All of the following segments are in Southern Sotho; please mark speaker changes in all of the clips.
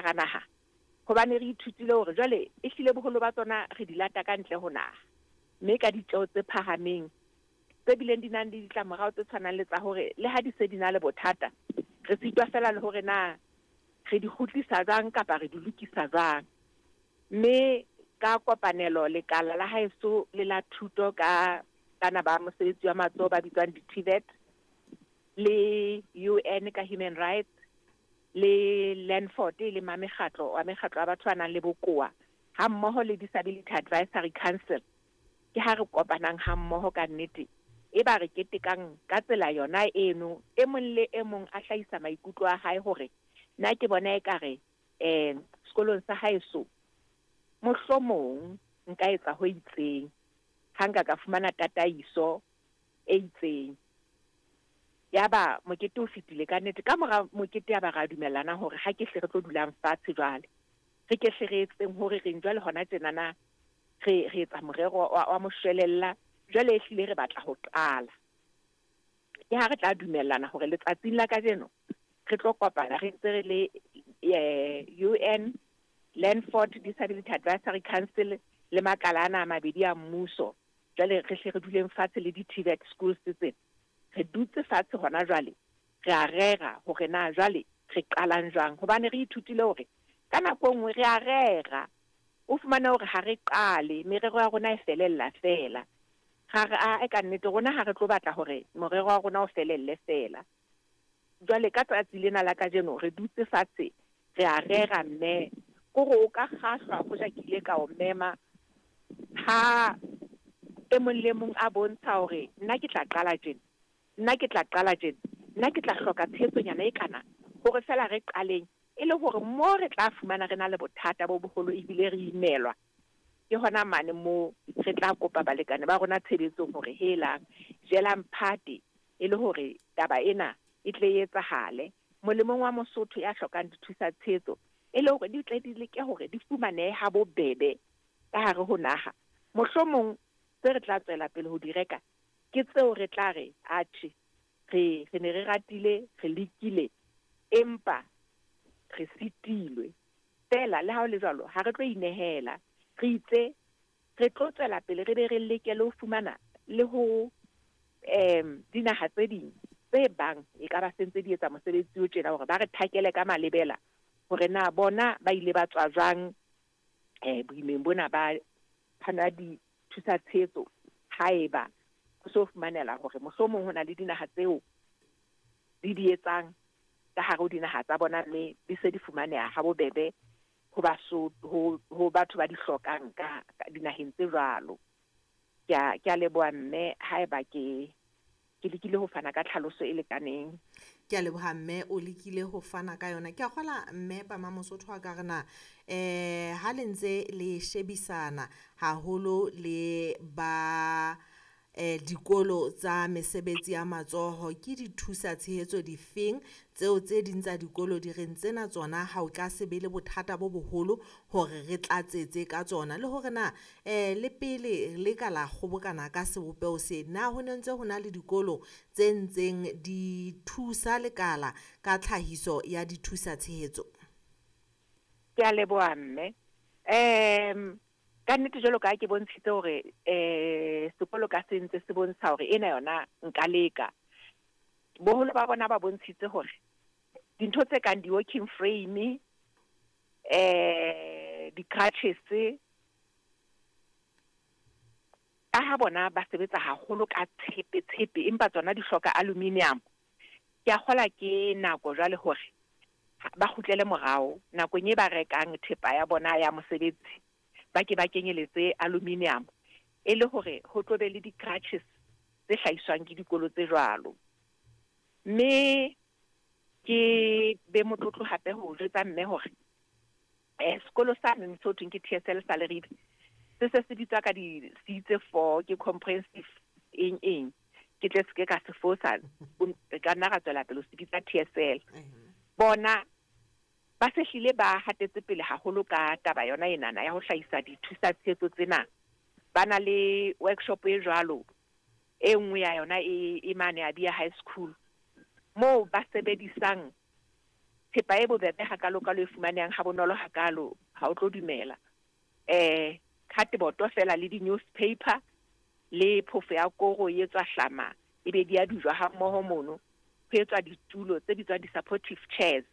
Speaker 1: hara naha hobane re ithutile hore jwale ehlile boholo ba tsona re di lata ka ntle ho naha mme ka ditjeo tse phahameng tse bileng di nang le ditlamorao tse tshwanang le tsa hore le ha di se di na le bothata re sitwa feela le hore na re di kgutlisa jwang kapa re di lokisa jwang. Mme ka kopanelo lekala la haeso le la thuto ka bana ba mosebetsi wa matsoho ba bitswang di-TVET le UN ka Human Rights le Landford e leng mekgatlo wa mekgatlo ya batho ba nang le bokowa ha mmoho le Disability Advisory Council ke ha re kopanang ha mmoho ka nnete e ba re ketekang ka tsela yona eno e mong le e mong a hlahisa maikutlo a hae hore nna ke bona ekare sekolong sa haeso mohlomong nka etsa ho itseng ha nka ka fumana tataiso e itseng. Ya ba mokete o fetile ka nnete ka mora mokete ya ba ra dumellana hore ha ke hle re tlo dulang fatshe jwale re ke hle re etseng hore reng jwale hona tjenana re etsa morero wa moshwelella jwale ehlile re batla ho qala. Ke ha re tla dumellana hore letsatsing la kajeno re tlo kopana re ntse re le UN, Landford Disability Advisory Council le makala ana a mabedi a mmuso. Jwale re hle re duleng fatshe le di-TVET schools tsena. Re dutse fatshe hona jwale re a rera hore na jwale re qalang jwang hobane re ithutile hore ka nako e nngwe re a rera o fumane hore ha re qale merero ya rona e felella feela. Ra re a ka nnete rona ha re tlo batla hore morero wa rona o felelle feela. Jwale ka tsatsi lena la kajeno re dutse fatshe re a rera mme kore o ka kgahlwa hoja ke ile ka o mema ha e mong le mong a bontsha hore nna ke tla qala tjena, nna ke tla qala tjena, nna ke tla hloka tshehetsonyana e kana hore feela re qaleng e le hore mo re tla fumana re na le bothata bo boholo ebile re imelwa ke hona mane mo re tla kopa balekane ba rona tshebetsong hore helang jelang phate e le hore taba ena e tle e etsahale molemong wa Mosotho ya hlokang dithusa tshehetso e le hore di tle di leke hore di fumanehe ha bobebe ka hare ho naha. Mohlomong tse re tla tswela pele ho di reka ke tseo re tla re atjhe re ne re ratile re lekile empa re sitilwe. Fela le ha ho le jwalo ha re tlo inehela re itse re tlo tswela pele re be re leke le ho fumana le ho dinaha tse ding tse bang e ka ba sentse di etsa mosebetsi o tjena hore ba re thakele ka malebela hore na bona ba ile ba tswa jwang boimeng bona ba phano ya dithusa tshehetso haeba ho so fumanela hore mohlomong ho na le dinaha tseo di di etsang ka hare ho dinaha tsa bona mme di se di fumaneha ha bobebe ho ho batho ba di hlokang ka dinaheng tse jwalo. Ke a leboha mme haeba ke lekile ho fana ka tlhaloso e lekaneng.
Speaker 2: Ke a leboha mme o lekile ho fana ka yona. Ke a kgola mme Pama Mosotho wa ka re na ha le ntse le shebisana haholo le ba dikolo tsa mesebetsi ya matsoho ke dithusa tshehetso difeng tseo tse ding tsa dikolo di reng tsena tsona ha o ka se be le bothata bo boholo hore re tlatsetse ka tsona le hore na le pele le ka la kgobokana ka sebopeho se na ho ne ntse ho na le dikolo tse ntseng di thusa lekala ka tlhahiso ya dithusa tshehetso?
Speaker 1: Ke a leboha mme. Ka nnete jwalo ka ke bontshitse hore sekolo ka se ntse se bontsha hore ena yona nka leka. Boholo ba bona ba bontshitse hore dintho tse kang di-walking frame, di-crutches, ka ha bona ba sebetsa haholo ka tshepe tshepe empa tsona di hloka aluminium. Ke a kgola ke nako jwale hore ba kgutlele morao nakong e ba rekang thepa ya bona ya mosebetsi ba ke ba kenyeletse aluminium e le hore ho tlo be le di-crutches tse hlahiswang ke dikolo tse jwalo. Mme ke be motlotlo hape ho jwetsa mme hore sekolo sa neng se ho thweng ke TSL sa Leribe se se se bitswa ka di-C tse 4 ke comprehensive eng eng ke tle se ke ka se fosa re ka nna ra tswela pele ho se bitsa TSL. Bona ba se hlile ba hatetse pele haholo ka taba yona enana ya ho hlahisa dithusa tshehetso tsena. Ba na le workshop e jwalo e nngwe ya yona e mane ya Bia High School moo ba sebedisang Thepa e bobebe hakalo-kalo e fumanehang ha bonolo hakalo, ha o tlo dumela. Cardboard feela le di-newspaper le phofo ya koro e etswa hlama, ebe di a dujwa ha mmoho mono. Ho etswa ditulo tse bitswang di-supportive chairs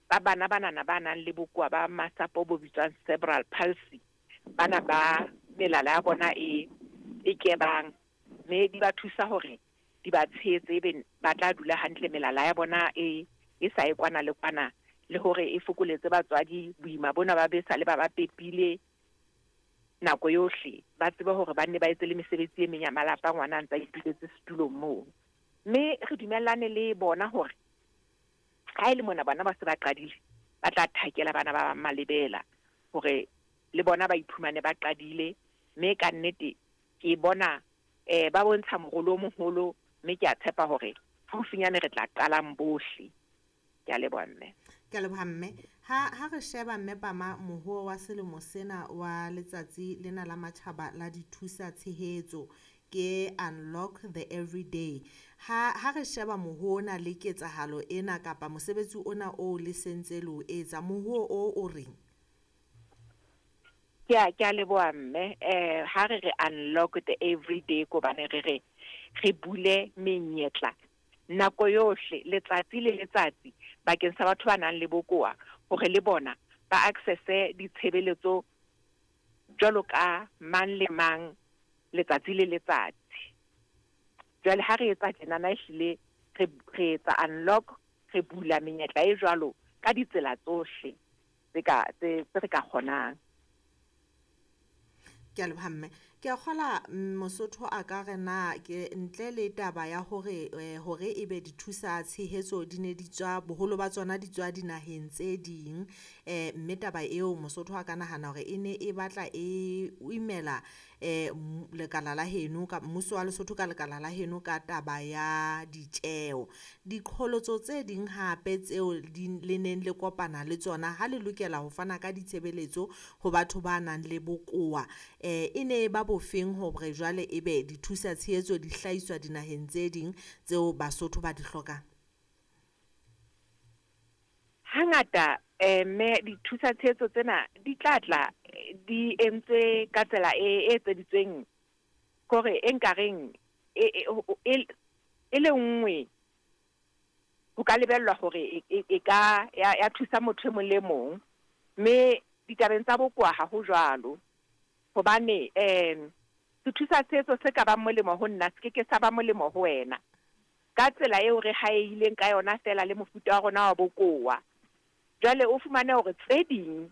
Speaker 1: tsa bana banana ba nang le bokowa ba masapo bo bitswang cerebral palsy, bana ba melala ya bona e e kebang, mme di ba thusa hore di ba tshehetse ebe ba tla dula hantle melala ya bona e e sa ye kwana le kwana, le hore e fokoletse batswadi boima bona ba be sa le ba ba pepile nako yohle, ba tsebe hore ba nne ba etse le mesebetsi e meng ya malapa ngwana a ntse a ituletse setulong moo. Mme re dumellane le bona hore ha e le mona bona ba se ba qadile, ba tla thakela bana ba bang malebela hore le bona ba iphumane ba qadile. Mme ka nnete ke bona ba bontsha morolo o moholo, mme ke a tshepa hore haufinyane re tla qalang bohle. Ke a leboha mme.
Speaker 2: Ke a leboha mme. Ha re sheba mme Pama mohuo wa selemo sena wa letsatsi lena la matjhaba la dithusa tshehetso ke Unlock the Everyday. Ha re sheba mohuo ona le ketsahalo ena kapa mosebetsi ona o le sentse le o etsa, mohuo o o reng?
Speaker 1: Ke a leboha mme. Ha re re Unlock the Everyday ko bane re re re bule menyetla nako yohle, letsatsi le letsatsi, bakeng sa batho ba nang le bokowa hore le bona ba access-e ditshebeletso jwalo ka mang le mang letsatsi le letsatsi. Jwale ha re etsa tjenana ehlile re etsa unlock, re bula menyetla e jwalo ka ditsela tsohle tse ka tse re ka kgonang.
Speaker 2: Ke a leboha mme. Ke a kgola Mosotho a ka re na ke ntle le taba ya hore hore ebe dithusa tshehetso di ne di tswa, boholo ba tsona di tswa dinaheng tse ding, mme taba eo Mosotho a ka nahana hore e ne e batla e imela lekala la heno ka mmuso wa Lesotho ka lekala la heno ka taba ya ditjeo. Diqholotso tse ding hape tseo le neng le kopana le tsona ha le lokela ho fana ka ditshebeletso ho batho ba nang le bokowa, e ne ba bofeng hore jwale ebe dithusa tshehetso di hlahiswa dinaheng tse ding tseo Basotho ba di hlokang?
Speaker 1: Hangata mme dithusa tshehetso tsena di tla tla di entswe ka tsela e etseditsweng kore e nkareng e le nngwe ho ka lebellwa hore e ka ya thusa motho e mong le mong, mme ditabeng tsa bokowa ha ho jwalo. Hobane sethusa tshehetso se ka bang molemo ho nna se ke ke sa ba molemo ho wena ka tsela eo re haehileng ka yona feela le mofuta wa rona wa bokowa. Jwale o fumane hore tse ding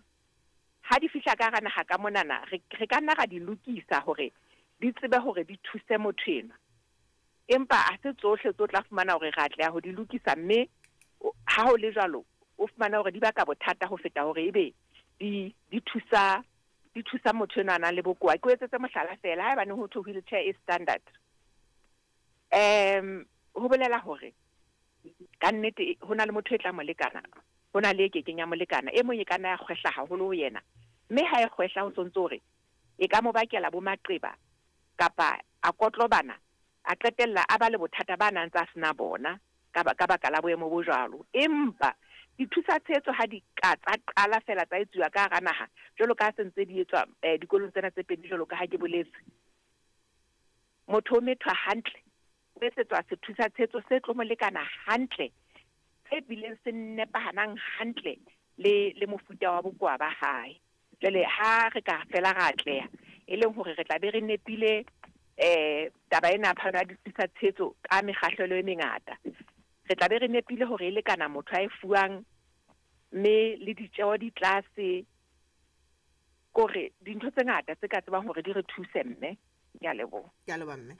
Speaker 1: ha di fihla ka hara naha ka monana, re ka nna ra di lokisa hore di tsebe hore di thuse motho enwa, empa ha se tsohle tse o tla fumana hore re atleha ho di lokisa, mme ha ho le jwalo o fumane hore di baka bothata ho feta hore ebe di thusa di thusa motho enwa a nang le bokowa. Ke o etsetse mohlala feela, haebane ho thwe wheelchair e standard, ho bolela hore ka nnete ho na le motho e tla mo lekana, ho na le e kekeng ya mo lekana. E mong e ka nna ya kgwehla haholo ho yena, mme ha e kgwehla ho sontso hore e ka mo bakela bo maqeba kapa a kotlobana, a qetella a ba le bothata ba nang tsa sena bona ka baka la boemo bo jwalo. Empa dithusa tshehetso ha di ka tsa qala fela tsa etsuwa ka hara naha jwalo ka ha se ntse di etswa dikolong tsena tse pedi jwalo ka ha ke boletse, motho o methwa hantle, o etsetswa sethusa tshehetso se tlo mo lekana hantle, se bileng se nepahanang hantle le mofuta wa bokowa ba hae. Jwale ha re ka fela ra atleha, e leng hore re tla be re nepile taba ena ya phano ya dithusa tshehetso ka mekgahlelo e mengata, re tla be re nepile hore e lekana motho a e fuwang, mme le ditjeo di tlase, kore dintho tse ngata tse ka tsebang hore di re thuse mme. Ke a leboha.
Speaker 2: Ke a leboha mme.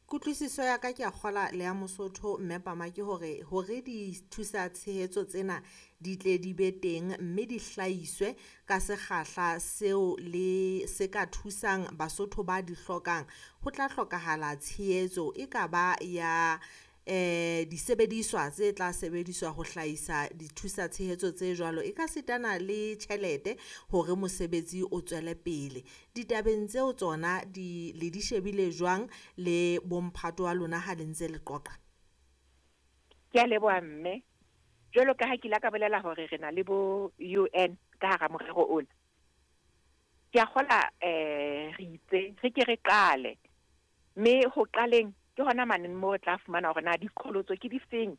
Speaker 2: Kutlwisiso ya ka ke a kgola le ya Mosotho mme Pama ke hore hore dithusa tshehetso tsena di tle di be teng mme di hlahiswe ka sekgahla seo le se ka thusang Basotho ba di hlokang, ho tla hlokahala tshehetso e ka ba ya disebediswa tse tla sebediswa ho hlahisa dithusa tshehetso tse jwalo, e ka sitana le tjhelete hore mosebetsi o tswele pele. Ditabeng tseo tsona di le di shebile jwang le bomphato wa lona ha le ntse le qoqa?
Speaker 1: Ke a leboha mme. Jwalo ka ha ke ile ka bolela hore re na le bo UN ka hara morero ona. Ke a kgola re itse re ke re qale, mme ho qaleng ke hona mane moo re tla fumana hore na diqholotso ke difeng,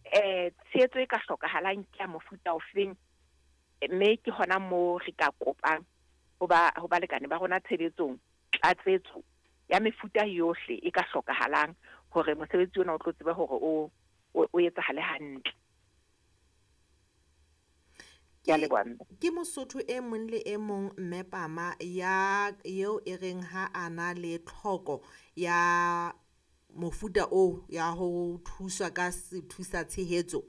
Speaker 1: tshehetso e ka hlokahalang ke ya mofuta ofeng, mme ke hona moo re ka kopang ho ba ho balekane ba rona tshebetsong tlatsetso ya mefuta yohle e ka hlokahalang hore mosebetsi ona o tlo tsebe hore o etsahale hantle. Ke a leboha mme.
Speaker 2: Ke Mosotho e mong le e mong mme Pama ya eo e reng ha a na le tlhoko ya mofuta oo ya ho thuswa ka sethusa tshehetso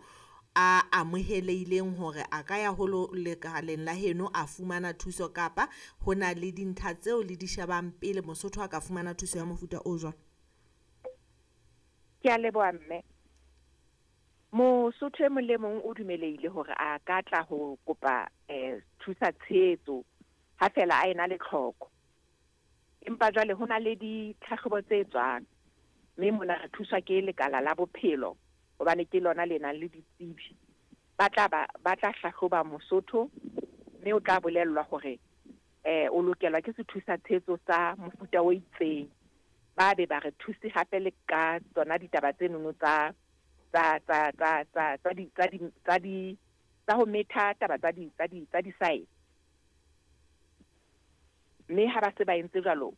Speaker 2: a amohelehileng hore a ka ya ho lekaleng la heno a fumana thuso, kapa ho na le dintlha tseo le di shebang pele Mosotho a ka fumana thuso ya mofuta o jwalo?
Speaker 1: Ke a leboha mme. Mosotho e mong le mong o dumelehile hore a ka tla ho kopa thusa tshehetso ha fela a ena le tlhoko. Empa jwale ho na le ditlhahlobo tse etswang, mme mona re thuswa ke lekala la bophelo hobane ke lona le nang le ditsebi. Ba tla hlahloba Mosotho, mme o tla bolellwa hore o lokelwa ke sethusa tshehetso sa mofuta o itseng. Ba be ba re thuse hape le ka tsona ditaba tse nono tsa tsa tsa tsa tsa tsa di tsa di tsa di tsa ho metha taba tsa di tsa di tsa di-size. Mme ha ba se ba entse jwalo,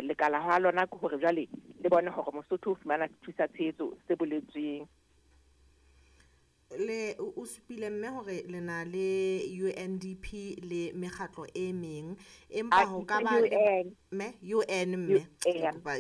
Speaker 1: lekala ha lona ke hore jwale le bone hore Mosotho o fumana sethusa tshehetso se boletsweng.
Speaker 2: Le o supile mme hore le na le UNDP le mekgatlo e meng, empa ho ka ba le mme UN mme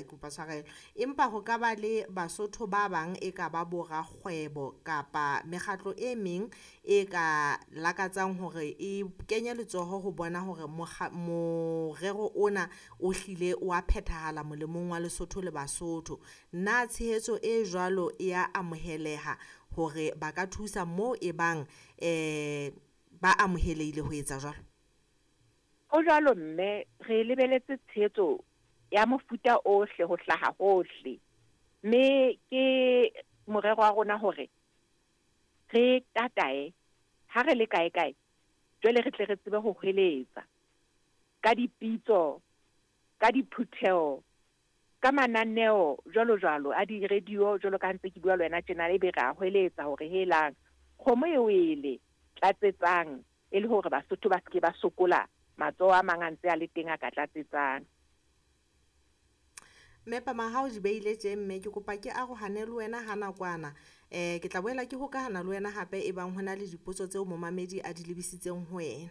Speaker 2: kopa tshwarelo, empa ho ka ba le Basotho ba bang e ka ba borakgwebo kapa mekgatlo e meng e ka lakatsang hore e kenye letsoho ho bona hore morero ona o hlile wa phethahala molemong wa Lesotho le Basotho. Na tshehetso e jwalo e ya amoheleha hore ba ka thusa moo e bang ba amohelehile ho etsa jwalo?
Speaker 1: Ho jwalo mme, re lebeletse tshehetso ya mofuta ohle ho hlaha hohle, mme ke morero wa rona hore re tatae ha re le kae kae, jwale re tle re tsebe ho hweletsa ka dipitso, ka diphutheho, ka mananeo jwalo jwalo a di-radio, jwalo ka ntse ke bua le wena tjena, ebe re a hweletsa hore helang kgomo e wele, tlatsetsang, e le hore Basotho ba seke ba sokola matsoho a mang a ntse a le teng a ka tlatsetsang.
Speaker 2: Mme Pama, ha o di beile tje mme, ke kopa ke arohane le wena ha nakwana. Ke tla boela ke hokahana le wena hape e bang hona le dipotso tseo momamedi a di lebisitseng ho wena.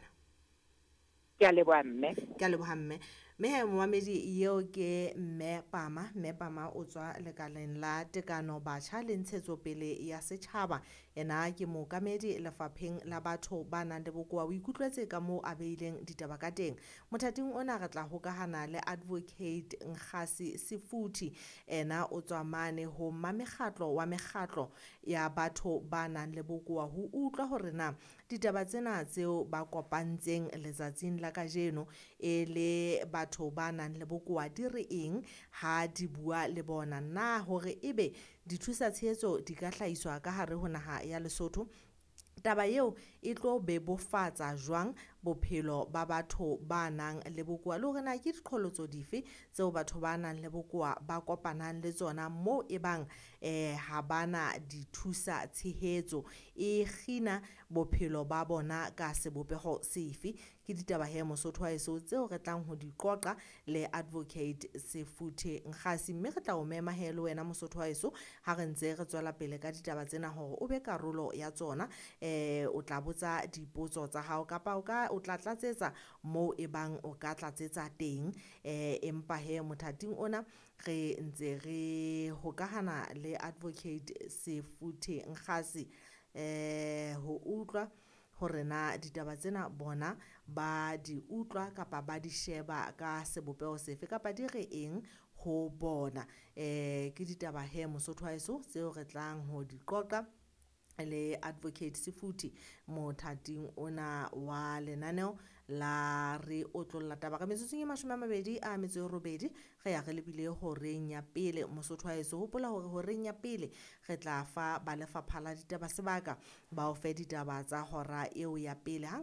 Speaker 1: Ke a leboha mme.
Speaker 2: Ke a leboha mme. Mme he momamedi eo ke mme Pama. Mme Pama o tswa lekaleng la tekano batjha le ntshetsopele ya setjhaba. Yena ke mookamedi lefapheng la batho ba nang le bokowa. O ikutlwetse ka moo a beileng ditaba ka teng. Mothating ona re tla hokahana le Advocate Nkgasi Sefuthi. Ena o tswa mane ho mmamekgatlo wa mekgatlo ya batho ba nang le bokowa ho utlwa hore na ditaba tsena tseo ba kopantseng letsatsing la kajeno e le batho ba nang le bokowa di re eng ha di bua le bona, na hore ebe dithusa tshehetso di ka hlahiswa ka hare ho naha ya Lesotho. Taba eo e tlo bebofatsa jwang bophelo ba batho ba nang le bokowa, le hore na ke diqholotso dife tseo batho ba nang le bokowa ba kopanang le tsona moo e bang ha bana dithusa tshehetso, e kgina bophelo ba bona ka sebopeho sefe. Ke ditaba he Mosotho wa heso tseo re tlang ho di qoqa le Advocate Sefuthe Nkgasi, mme re tla o mema he le wena Mosotho wa heso ha re ntse re tswela pele ka ditaba tsena hore o be karolo ya tsona. O tla botsa dipotso tsa hao kapa o tla tlatsetsa moo e bang o ka tlatsetsa teng. Empa he mothating ona re ntse re hokahana le Advocate Sefuthe Nkgasi ho utlwa hore na ditaba tsena bona ba di utlwa kapa ba di sheba ka sebopeho sefe kapa di re eng ho bona. Ke ditaba he Mosotho wa heso tseo re tlang ho di qoqa Le Advocate Sefuthi mothating ona wa lenaneo la Re Otlolla Taba. Ka metsotsong e 28 re ya re lebile horeng ya pele. Mosotho wa heso, hopola hore horeng ya pele re tla fa ba lefapha la ditaba sebaka ba o fe ditaba tsa hora eo ya pele. Hang ka